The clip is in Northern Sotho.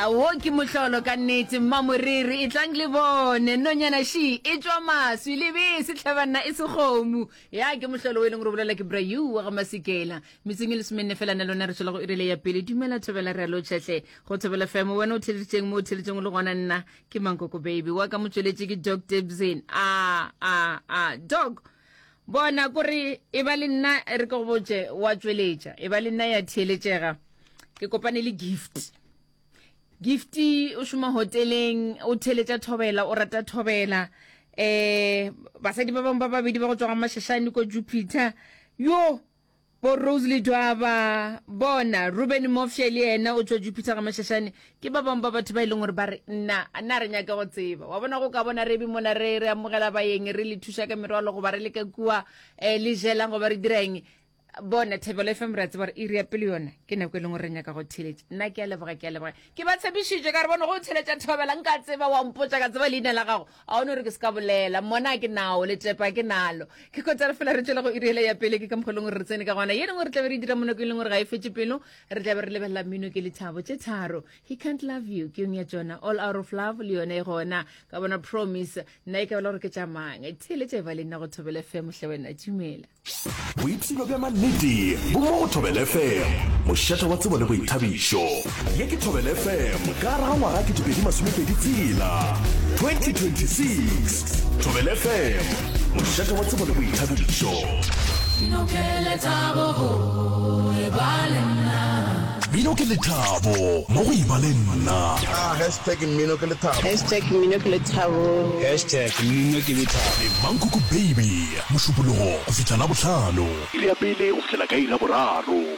Awo ke mohlolo ka nnete mmamoriri e tlang le bone nonyana she e tšwa maswi lebese tlhabanna e sekgomu ya ke mohlolo o e leng gore o bolela ke brayu wa ga masekela metseng e lesomenne fela na lona re tšwela go irile ya pele dumela thobela re a lotšhahle go thobela fm wena o theleditšeng mo o theleditšeng o le gona nna ke mankoko baby wa ka motsweletše ke dog debzin a a a dog Bona, kore e ba le nna re ke go botše, wa tšweletša, e ba le nna ya theeletšega. Ke kopane le Gift. Gift o šoma hoteleng, o theeletša thobela, o rata thobela. Eh, basadi ba bangwe ba babedi ba go tšwa ga Mashashane ko Jupiter. Yo, Bo Rose Ledwaba, bona, Ruben Mofše le yena o tšwa Jupiter ga Mashashane, ke ba bangwe ba batho ba e leng gore ba re, nna, nna re nyake go tseba. Wa bona go ka bona re be mona re, re amogela baeng, re le thuša ka merwalo goba re le ka kua eh, le jelang goba re dira eng. Bona, Thebelo FM re a tseba gore iri ya pele yona ke nako e leng gore re nyaka go theeletša. Nna ke a leboga, ke a leboga. Ke ba tshepišitše ka re bone go theeletša Thobela nka tseba wa mpotša ka tseba leina la gago. A o no re ke se ka bolela mona ke nao letšepa ke nalo ke kotara fela re tšwela go iri ele ya pele ke ka mokgwa e leng gore re tsene ka gona ye lengwe re tlabe re dira mo nako e leng gore ga e fetše pelo re tlabe re lebelela mmino ke lethabo tše tharo he can't love you ke yong ya tšona all out of love le yone e gona ka bona promise nna e ka bela gore ke tša mang theeletša e ba le nna go thobele fm hle wena dumela Boipshino bja mannete bo mo go Thobela FM, mošate wa tsebo le boithabišo. Ye ke Thobela FM ka gare ga ngwaga 2026, 2026. Thobela FM, mošate wa tsebo le boithabišo. Mmino ke lethabo go eba le nna. Mmino ke lethabo mo go eba le nna. Ah, hashtag mmino ke lethabo. Hashtag mmino ke lethabo. Hashtag mmino ke lethabo. Le Mankoko Baby, Mošupologo go fihla Labohlano. Iri ya pele go fihlela ka iri ya boraro.